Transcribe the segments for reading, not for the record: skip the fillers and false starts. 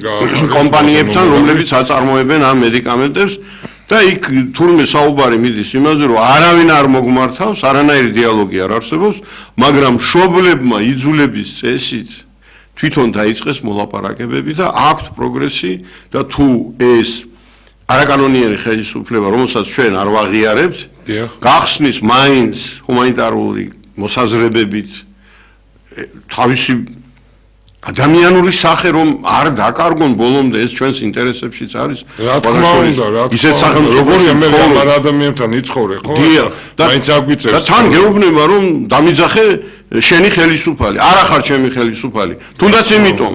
კომპანიებთან, რომლებიც აწარმოებენ ამ მედიკამენტებს და იქ თურმე საუბარი მიდის იმაზე, რომ არავინ არ მოგმართავს, არანაირი დიალოგი არ არსებობს, მაგრამ მშობლებმა იძულების წესით თვითონ დაიწყეს მოლაპარაკებები და აქვთ პროგრესი და თუ ეს არაკანონიერი ხელისუფლება, რომელსაც ჩვენ არ ვაღიარებთ, გახსნის მაინც ჰუმანიტარული მოსაზრებებით თავისი ადამიანური სახე რომ არ დაკარგონ ბოლომდე ეს ჩვენს ინტერესებშიც არის. რა თქმა უნდა, ისეთ სახელმწიფოში მე ადამიანთან იცხოვრე, ხო? მაინც აგვიწევს. და თან გეუბნება რომ დამიძახე შენი ხელისუფალი, არა ხარ ჩემი ხელისუფალი. თუნდაც იმიტომ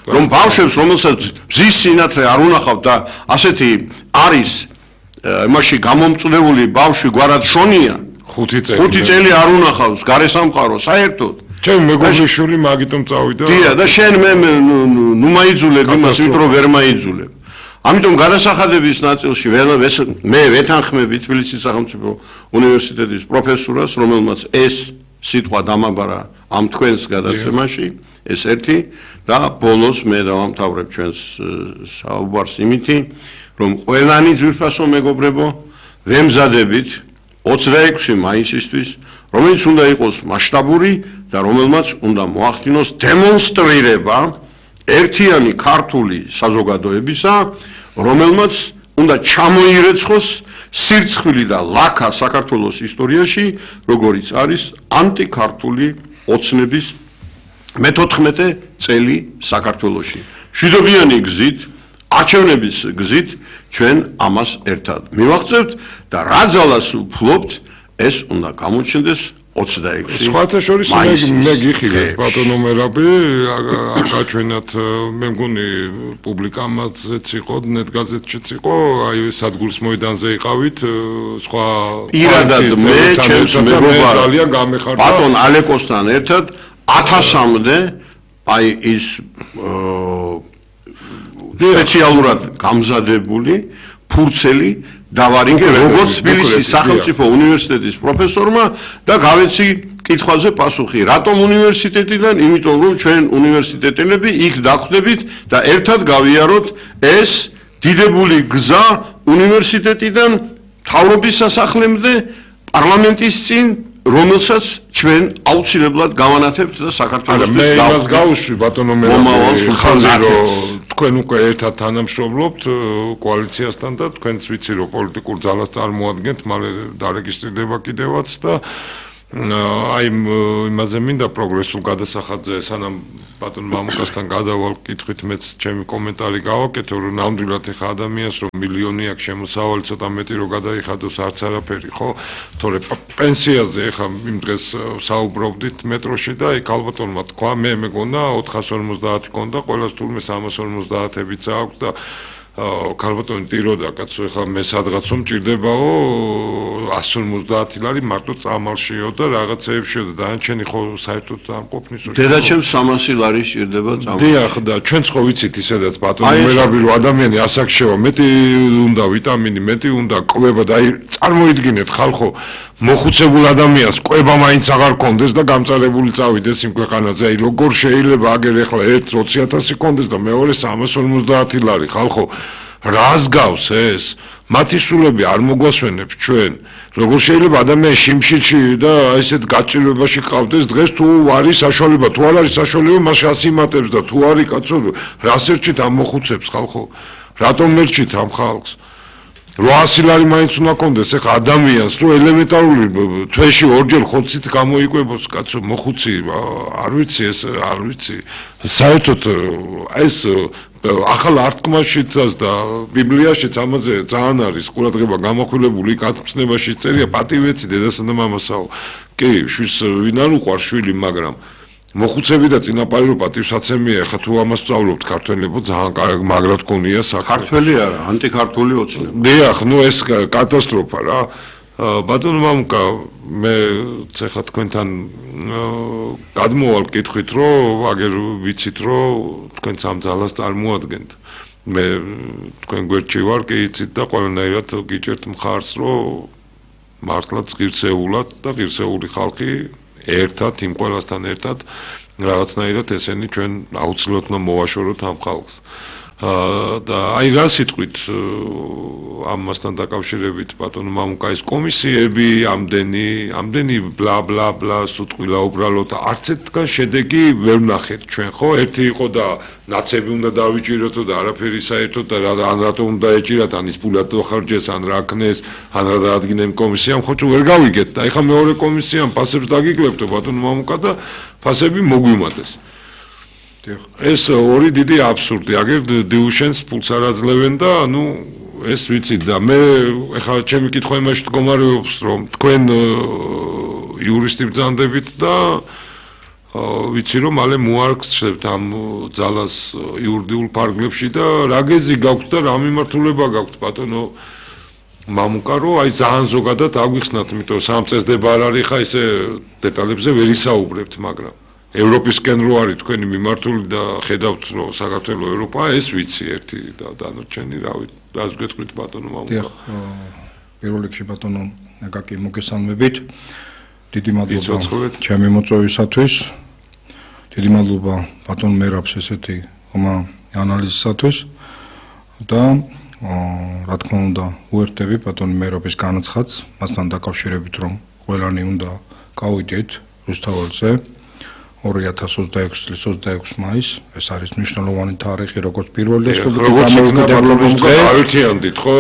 რომ ბავშვებს რომელსაც მზის სინათლე არ უნახავთ და ასეთი არის იმაში გამომწვეული ბავშვი გვარად შონია 5 წელი არ უნახავს გარესამყარო საერთოდ ჩემ მეგობრიშვილი მაგიტომ წავიდა დია და შენ მე ნუ მაიძულებ იმას ვით რომ ვერ მაიძულებ ამიტომ გადასახადების ნაწილში მე ვეთანხმები თბილისის სახელმწიფო უნივერსიტეტის პროფესორას რომელმაც ეს სიტყვა დამაბარა ამ თქვენს გადაცემაში ეს ერთი და ბოლოს მე დავამთავრებ ჩვენს საუბარს იმითი რომ ყველანი ძვირფასო მეგობრებო ვემზადებით 26 მაისისთვის რომელიც უნდა იყოს მასშტაბური და რომელმაც უნდა მოახდინოს დემონსტრირება ერთიანი ქართული საზოგადოებისა რომელმაც უნდა ჩამოირეცხოს სირცხვილი და ლაქა საქართველოს ისტორიაში როგორიც არის ანტიქართული ოცნების მე-14 წელი საქართველოში მშვიდობიანი გზით არჩევნების გზით ჩვენ ამას ერთად მივაღწევთ და რა ძალას ვფლობთ ეს უნდა გამოჩნდეს 26 სხვათა შორის მე გიხილეთ ბატონო მერაბი აკაჩვენათ მე მგონი პუბლიკამაზეც იყო ნეტგაზეთშიც იყო აი სადგურის მოედანზე იყავით სხვა პირადად მე ჩემს მეგობარ ძალიან გამეხარდა ბატონ ალეკოსთან ერთად 1000-მდე აი ის სპეციალურად გამზადებული ფურცელი დავარიგე როგორც თბილისის სახელმწიფო უნივერსიტეტის პროფესორმა და გავეცი კითხვაზე პასუხი რატომ უნივერსიტეტიდან იმიტომ რომ ჩვენ უნივერსიტეტელები იქ დახვდებით და ერთად გავიაროთ ეს დიდებული გზა უნივერსიტეტიდან მთავრობის სასახლემდე პარლამენტის წინ რომელსაც ჩვენ აუცილებლად გავანათებთ და საქართველოს მე იმას გავუშვი ბატონო მერაბი ხაზი რომ თქვენ უკვე ერთად თანამშრომლობთ კოალიციასთან და თქვენც ვიცი რომ პოლიტიკურ ძალას წარმოადგენთ მალე დარეგისტრირდება კიდევაც და აი იმაზე მინდა პროგრესულ გადასახადზე სანამ ბატონ მამუკასთან გადავალ კითხვით მეც ჩემი კომენტარი გავაკეთე რომ ნამდვილად ეხა ადამიანს რომ მილიონი აქვს შემოსავალი ცოტა მეტი რომ გადაიხადოს არც არაფერი ხო თორე პენსიაზე ეხა იმ დღეს საუბრობდით მეტროში და აი ქალბატონმა თქვა მე მეგონა 450 ქონდა ყველას თურმე 350-ებიც აქვს და ქალბატონი ტიროდა კაცო ეხლა მე სადღაცო მჭირდებაო 150 ლარი მარტო წამალშიო და რაღაცეებშიო და დანარჩენი ხო საერთოდ არ ყოფნის დედაჩემს 300 ლარი სჭირდება წამალში დიახ და ჩვენც ხო ვიცით ისედაც ბატონო მერაბი რომ ადამიანი ასაკშევა მეტი უნდა ვიტამინი მეტი უნდა კვება და აი წარმოიდგინეთ ხალხო მოხუცებულ ადამიანს კვება მაინც აღარ კონდეს და გამწარებული წავიდეს იმ ქვეყანაზე აი როგორ შეიძლება აგერ ეხლა ერთ 20000 კონდეს და მეორე 350 ლარი ხალხო რას გავს ეს მათი სულები არ მოგვასვენებს ჩვენ როგორ შეიძლება ადამიანი შიმშილში და ესეთ გაჭირვებაში ყავდეს დღეს თუ არის საშუალება თუ არ არის საშუალება მას ასიმატებს და თუ არის კაცო რას ერჩით ამ მოხუცებს ხალხო რატომ ერჩით ამ ხალხს 800 ლარი მაინც უნდა კონდეს ეხა ადამიანს რომ ელემენტარული თვეში ორჯერ ხოცით გამოიკვებოს კაცო მოხუცი არ ვიცი ეს არ ვიცი საერთოდ ეს ახალ ართქმაშიც და ბიბლიაშიც ამაზე ძალიან არის ყურადღება გამახვილებული კაცნებაში წერია პატივეცი დედასა და მამასაო კი შვილს ვინ არ უყვარს შვილი მაგრამ მოხუცები და წინაპარი რო პატივსაცემია ხა თუ ამას სწავლობთ ქართველებო ძალიან მაგრად გონია საქმე ქართველი არა ანტიქართული ოცნება დიახ ნუ ეს კატასტროფა რა ბატონო მამუკა მე ეხლა თქვენთან გადმოვალ კითხვით რომ აგერ ვიცით რომ თქვენ სამ ძალას წარმოადგენთ მე თქვენ გვერდში ვარ კი იცით და ყველანაირად გიჭერთ მხარს რომ მართლაც ღირსეულად და ღირსეული ხალხი ერთად იმ ყველასთან ერთად რაღაცნაირად ესენი ჩვენ აუცილებლად მოვაშოროთ ამ ხალხს და აი რა სიტყვით ამასთან დაკავშირებით ბატონო მამუკაის კომისიები ამდენი ბლა ბლა ბლა სიტყვილა უბრალოდ არც ერთგან შედეგი ვერ ვნახეთ ჩვენ ხო ერთი იყო და ნაცები უნდა დავიჭიროთო და არაფერი საერთოდ და ან რატომ უნდა ეჭირათ ან ის ფულად ხარჯეს ან რა ქნეს ან რა დაადგინენ კომისიამ ხო თუ ვერ გავიგეთ და ეხა მეორე კომისიამ ფასებს დაგიკლებთო ბატონო მამუკა და ფასები მოგვიმატეს ეს ორი დიდი აბსურდი აგერ დიუშენს ფულს არ აძლევენ და ნუ ეს ვიცი და მე ეხლა ჩემი კითხვა იმაში მდგომარეობს რომ თქვენ იურისტი ბრძანდებით და ვიცი რომ მალე მოარგცევთ ამ ძალას იურიდიულ ფარგლებში და რა გეზი გაქვთ და რა მიმართულება გაქვთ ბატონო მამუკა რომ აი ძალიან ზოგადად აგვიხსნათ იმიტომ რომ სამ წესდება არ არის ხა ისე დეტალებზე ვერ ისაუბრებთ მაგრამ ევროპისკენ რო არის თქვენი მიმართული და ხედავთ რომ საქართველოს ევროპა ეს ვიცი ერთი და დანარჩენი რას გეტყვით ბატონო მამუკა დიახ პირველ რიგში ბატონო აკაკი მოგესალმებით დიდი მადლობა ჩემი მოწვევისათვის დიდი მადლობა ბატონ მერაბს ესეთი ხომა ანალიზისათვის და რა თქმა უნდა უერთდები ბატონ მერაბის განაცხადს მასთან დაკავშირებით რომ ყველანი უნდა გავიდეთ რუსთაველზე 2026 წლის 26 მაისს ეს არის მნიშვნელოვანი თარიღი როგორც პირველი რესპუბლიკის დამოუკიდებლობის დღე აერთიანდით ხო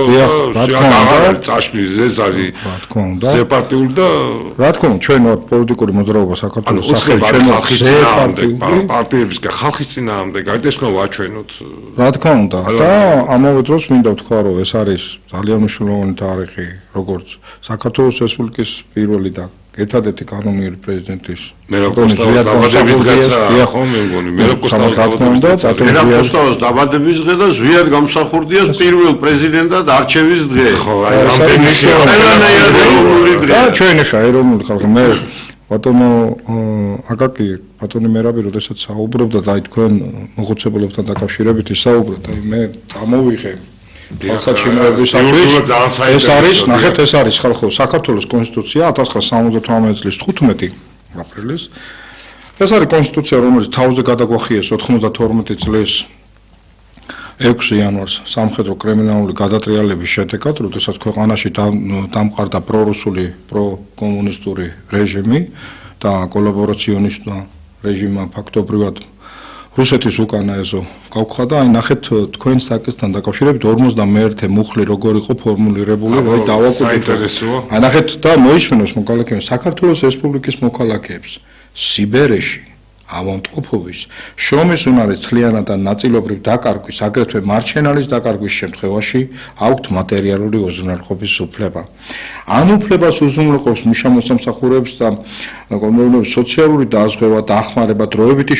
რა თქმა უნდა წაშლის ეს არის რა თქმა უნდა ზეპარტიული და რა თქმა უნდა ჩვენ ვართ პოლიტიკური მოძრაობა საქართველოს სახელი ჩვენ ვართ პარტიებისგან ხალხის წინააღმდეგ გარდაიქმნა ვაჩვენოთ რა თქმა უნდა და ამავე დროს მინდა ვთქვა რომ ეს არის ძალიან მნიშვნელოვანი თარიღი როგორც საქართველოს რესპუბლიკის პირველი და ერთადერთი კანონიერი პრეზიდენტის მერაბ დაბადების დღე და ზვიად გამსახურდია პირველ პრეზიდენტად არჩევის დღე. ხო, აი რამდენი დღე. ჩვენ ხა ეროვნული ხალხი მე ბატონო აკაკი ბატონი მერაბი როდესაც საუბრობდა და აი თქვენ მოხუცებულებთან დაკავშირებით ისაუბრეთ აი მე გამოვიღე ეს არის ნახეთ ეს არის ხალხო საქართველოს კონსტიტუცია 1978 წლის 15 აპრილის ეს არის კონსტიტუცია რომელიც თავზე გადაგვახიეს 92 წლის 6 იანვარს სამხედრო კრიმინალური გადატრიალების შედეგად, როდესაც ქვეყანაში დამყარდა პრორუსული, პროკომუნისტური რეჟიმი და კოლაბორაციონისტთა რეჟიმმა ფაქტობრივად რუსეთის უკანა ეზო გავხდა და აი ნახეთ თქვენ საკითხთან დაკავშირებით 51 მუხლი როგორ იყო ფორმულირებული, რა დავაკვირდით. აი ნახეთ და მოისმინოს მოქალაქეებს საქართველოს რესპუბლიკის მოქალაქეებს სიბერეში ავადმყოფობის შრომის უნარის თლიანად და ნაწილობრივ დაკარგვის, აგრეთვე მარჩენალის დაკარგვის შემთხვევაში აქვთ მატერიალური უზრუნველყოფის უფლება. ამ უფლებას უზრუნველყოფს მუშა-მოსამსახურეებს და კომუნიკაციების სოციალური დაზღვევა, დახმარება, დროებითი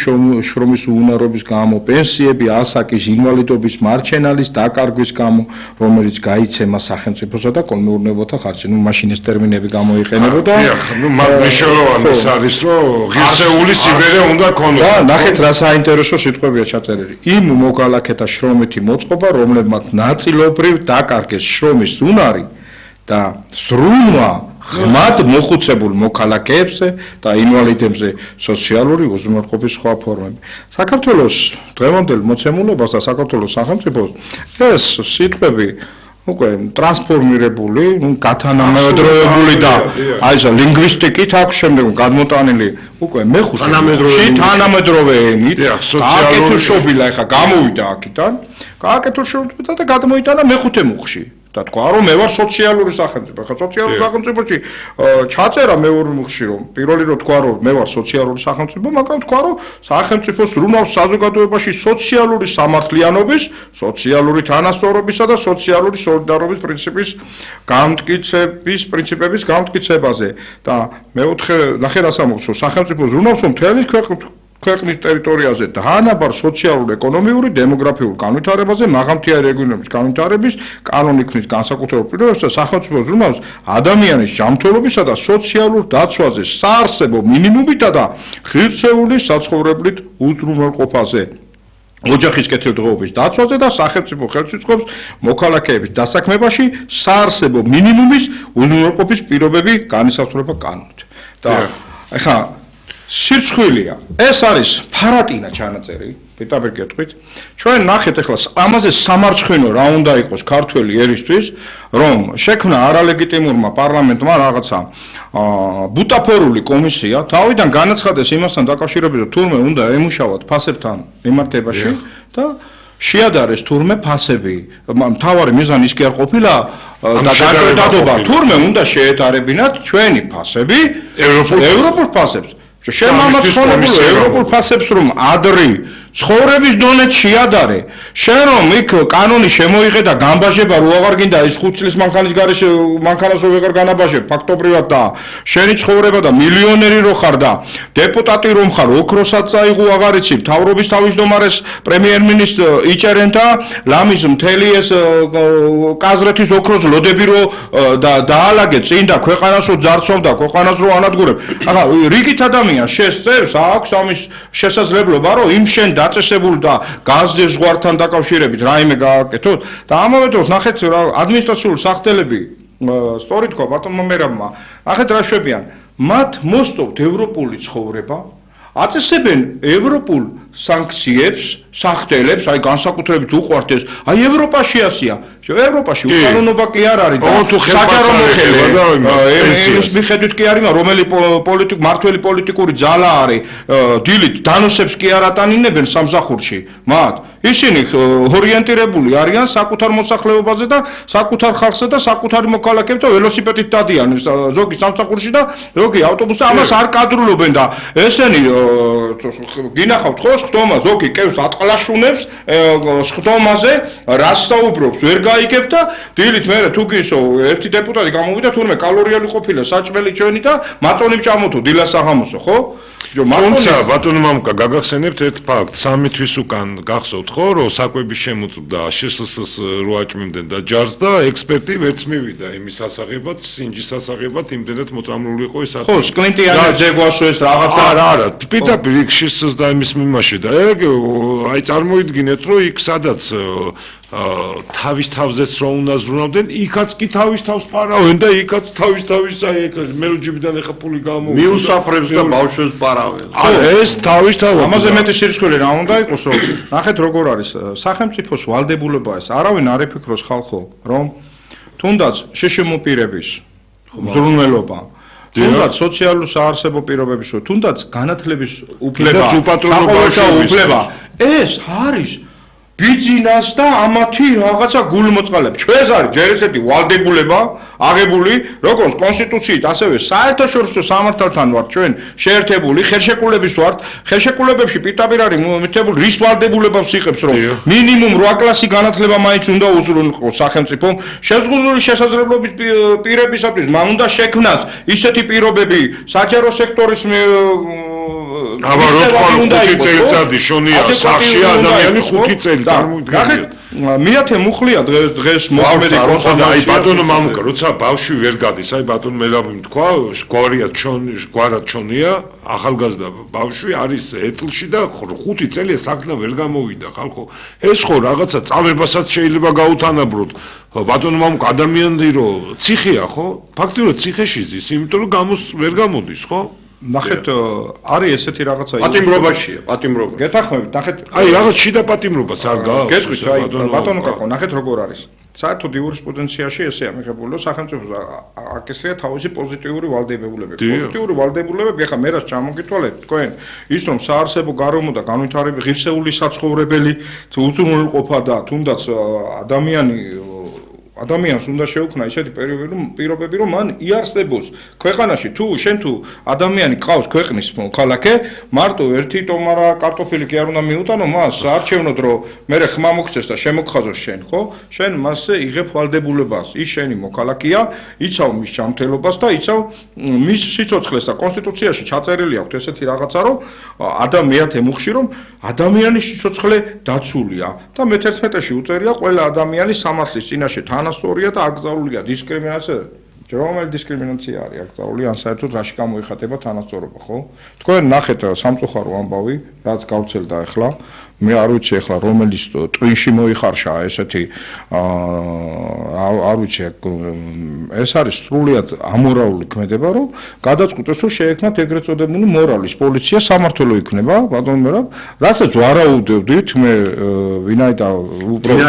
შრომის უნარობის გამო, პენსიები, ასაკის, ინვალიდობის, მარჩენალის დაკარგვის გამო, რომელიც გაიცემა სახელმწიფოსა და კოლმეურნეობათა ხარჯზე. ნუ მაშინ ეს ტერმინები გამოიყენებოდა. ნუ მნიშვნელოვანი არის, რომ ღირსეული სიბერე უნდა და ნახეთ რა საინტერესო სიტყვებია ჩაწერილი. იმ მოქალაქეთა შრომითი მოწყობა, რომლებმაც ნაწილობრივ დაკარგეს შრომის უნარი და ზრუნვა ღრმად მოხუცებულ მოქალაქეებზე და ინვალიდებზე სოციალური უზრუნველყოფის სხვა ფორმები. საქართველოს დღევანდელ მოცემულობას და საქართველოს სახელმწიფოს ეს სიტყვები უკვე ტრანსფორმირებული, გათანამედროვებული და აი ეს ლინგვისტიკით აქვს შემდეგ გადმოტანილი უკვე მეხუთე თანამედროვე ენით გააკეთილშობილა ეხა გამოვიდა აქედან გააკეთილშობილა და გადმოიტანა მეხუთე მუხში და თქვა რომ მე ვარ სოციალური სახელმწიფო ხა სოციალურ სახელმწიფოში ჩაწერა მეორე მუხში რომ პირველი რომ თქვა რომ მე ვარ სოციალური სახელმწიფო მაგრამ თქვა რომ სახელმწიფოს რუნავს საზოგადოებაში სოციალური სამართლიანობის სოციალური თანასწორობისა და სოციალური სოლიდარობის პრინციპების გამტკიცების პრინციპების გამტკიცებაზე და მეოთხე ნახე რას ამბობს სახელმწიფოს რუნავს რომ მთელი ქვეყნის ტერიტორიაზე დაანაბარ სოციალურ-ეკონომიური, დემოგრაფიულ განვითარებაზე, მაღალმთიანი რეგიონების განვითარების, კანონი ქმნის განსაკუთრებულ პირობებს და სახელმწიფოს რუნავს ადამიანის ჯანმრთელობისა და სოციალურ დაცვაზე, საარსებო მინიმუმითა და ღირსეული საცხოვრებლით უზრუნველყოფაზე. ოჯახის კეთილდღეობის დაცვაზე და სახელმწიფო ხელს უწყობს მოქალაქეების დასაქმებაში საარსებო მინიმუმის უზრუნველყოფის პირობები განისაზღვრება კანონით. და ეხლა სირცხვილია. ეს არის ფარატინა ჩანაწერი პირდაპირ გეტყვით. ჩვენ ნახეთ ახლა ამაზე სამარცხინო რა უნდა იყოს ქართველი ერისთვის, რომ შექმნა არალეგიტიმურმა პარლამენტმა რაღაცა ბუტაფორული კომისია, თავიდან განაცხადეს იმასთან დაკავშირებით, თურმე უნდა ემუშავოთ ფასებთან მიმართებაში და შეადარეს თურმე ფასები. მთავარი მიზანი ის კი არ ყოფილა და გადადობა, თურმე უნდა შეეტარებინათ ჩვენი ფასები ევროპულ ფასებს. შემამაცხონებულ ევროპულ ფასებს რომ ადრი ცხოვრების დონე შეადარე, შენ რომ იქ კანონი შემოიღე და გამბაჟება რო აღარ გინდა ის 5 წლის მანქანის გარეშე მანქანას რო ვეღარ განაბაჟებ ფაქტობრივად და შენი ცხოვრება და მილიონერი რო ხარ და დეპუტატი რომ ხარ ოქროსაც წაიღო აღარ იცი მთავრობის თავმჯდომარეს პრემიერ-მინისტრს იჭერენ და ლამის მთელი ეს კაზრეთის ოქროს ლოდები რო დაალაგე წინ და ქვეყანას რო ძარცვავ და ქვეყანას რო ანადგურებ. ახლა რიგით ადამიანს შესწევს აქვს ამის შესაძლებლობა რომ იმ შენ დაწესებულ და განსჯერ ზღვართან დაკავშირებით რაიმე გააკეთოთ და ამავე დროს ნახეთ რა ადმინისტრაციული სახთელები სწორი თქვა ბატონმა მერაბმა ნახეთ რა შვებიან მათ მოსწოვთ ევროპული ცხოვრება აწესებენ ევროპულ სანქციებს სახთელებს აი განსაკუთრებით უყვართ ეს აი ევროპაში ასია ევროპაში უკანონობა კი არ არის და საჯარო მოხელება ეს მიხედვით კი არის რომელი მართველი პოლიტიკური ძალა არის დილით დანოსებს კი არ ატანინებენ სამსახურში მათ ისინი ორიენტირებული არიან საკუთარ მოსახლეობაზე და საკუთარ ხალხზე და საკუთარი მოქალაქეებს და ველოსიპედით დადიან ზოგი სამსახურში და ზოგი ავტობუსზე ამას არ კადრულობენ და ესენი გინახავთ ხო ხტომა ზოგი კევს ატყლაშუნებს ხტომაზე რას საუბრობს ვერ გაიგებ და დილით მე თუ გისო ერთი დეპუტატი გამოვიდა თურმე კალორიალი ყოფილა საჭმელი ჩვენი და მაწონი მჭამოთო დილას საღამოსო ხო თუმცა ბატონო მამუკა გაგახსენებთ ერთ ფაქტს 3 თვის უკან გახსოვთ ხო რომ საკვები შემოწმდა შსს რო აჭმევდნენ და ჯარს და ექსპერტი ვერც მივიდა იმის სასაღებად სინჯის სასაღებად იმდენად მოწამლული იყო ეს ხო სკლინტიანი ძეგვასო ეს რაღაცა არა პირდაპირ იქ შსს და იმის მიმარში და აი წარმოიდგინეთ რომ იქ სადაც თავის თავზეც რო უნდა ზრუნავდნენ, იქაც კი თავის თავს პარავენ და იქაც თავის აი მე რო ჯიბიდან ეხა ფული გამოვიდა. მიუსაფრებს და ბავშვებს პარავენ. ეს თავის თავი. ამაზე მეტი სირცხვილი რა უნდა იყოს რომ ნახეთ როგორ არის სახელმწიფოს ვალდებულება ეს არავინ არ იფიქროს ხალხო რომ თუნდაც შეშემოპირების ზრუნველობა თუნდაც სოციალურ საარსებო პირობების თუნდაც განათლების უფლება უფლება ეს არის ბიზნეს და ამათი რაღაცა გულმოწყალებ. ჩვენს არის ჯერ ესეთი ვალდებულება აღებული, როგორც კონსტიტუციით, ასევე საერთაშორისო სამართალთან ვართ ჩვენ შეერთებული, ხელშეკრულების ვართ. ხელშეკრულებებში პირდაპირ არის მითებული რის ვალდებულებებს იღებს, რომ მინიმუმ 8 კლასი განათლება მაინც უნდა უზრუნველყოს სახელმწიფომ. შეზღუდული შესაძლებლობის პირებისათვის მან უნდა შექმნას ისეთი პირობები საჯარო სექტორის აბა რო თქვა 5 წელიწადი შონია სახში ადამიანი 5 წელი ნახეთ მეათე მუხლია დღეს მოქმედი კონსტიტუცია აი ბატონო მამუკა როცა ბავშვი ვერ გადის აი ბატონო მელაბიმ თქვა გვარად ჩონია ახალგაზრდა ბავშვი არის ეთლში და 5 წელია საქმე ვერ გამოვიდა ხალხო ეს ხო რაღაცა წამებასაც შეიძლება გაუთანაბროთ ბატონო მამუკა ადამიანი რომ ციხეა ხო ფაქტობრივად ციხეში ზის იმიტომ რომ ვერ გამოდის ხო ნახეთ არის ესეთი რაღაცა პატიმრობაშია პატიმრობა გეთახმებით ნახეთ აი რაღაც შიდა პატიმრობას არ გააქვს გეტყვით აი ბატონო კაკო ნახეთ როგორ არის საერთოდ იურისპრუდენციაში ესეა მიღებული რომ სახელმწიფოს აკისრია თავისი პოზიტიური ვალდებულებები პოზიტიური ვალდებულებები ახლა მე რას ჩამოგითვალეთ თქვენ ის რომ საარსებო გარემო და განვითარების ღირსეული საცხოვრებელი უზრუნველყოფა და თუნდაც ადამიანს უნდა შეუქმნა ისეთი პირობები რომ მან იარსებოს ქვეყანაში შენ თუ ადამიანი ყავს ქვეყნის მოქალაქე მარტო ერთი ტომარა კარტოფილი კი არ უნდა მიუტანო მას არჩევნოდ რომ მე ხმა მოგცეს და შემოგხაზოს შენ ხო შენ მასზე იღებ ვალდებულებას ის შენი მოქალაქეა იცავ მის ჯანმრთელობას და იცავ მის სიცოცხლეს და კონსტიტუციაში ჩაწერილი აქვს ესეთი რაღაცა რომ ადამიანთ ემუხში რომ ადამიანის სიცოცხლე დაცულია და მე-11-ში უწერია ყველა ადამიანის სამართლის წინაშე თანასწორია და აკრძალულია დისკრიმინაცია რომელი დისკრიმინაცია არის აკრძალული ან საერთოდ რაში გამოიხატება თანასწორობა ხო თქვენ ნახეთ სამწუხარო ამბავი რაც გავრცელდა ახლა მე არ ვიცი ახლა რომელიც ტვინში მოიხარშა ესეთი არ ვიცი ეს არის სრულიად ამორალური ქმედება რომ გადაწყვიტეს რომ შეექმნათ ეგრეთ წოდებული მორალის პოლიცია სამართლო იქნება ბატონო მე რასაც ვარაუდევდით მე ვინაიდან უბრალოდ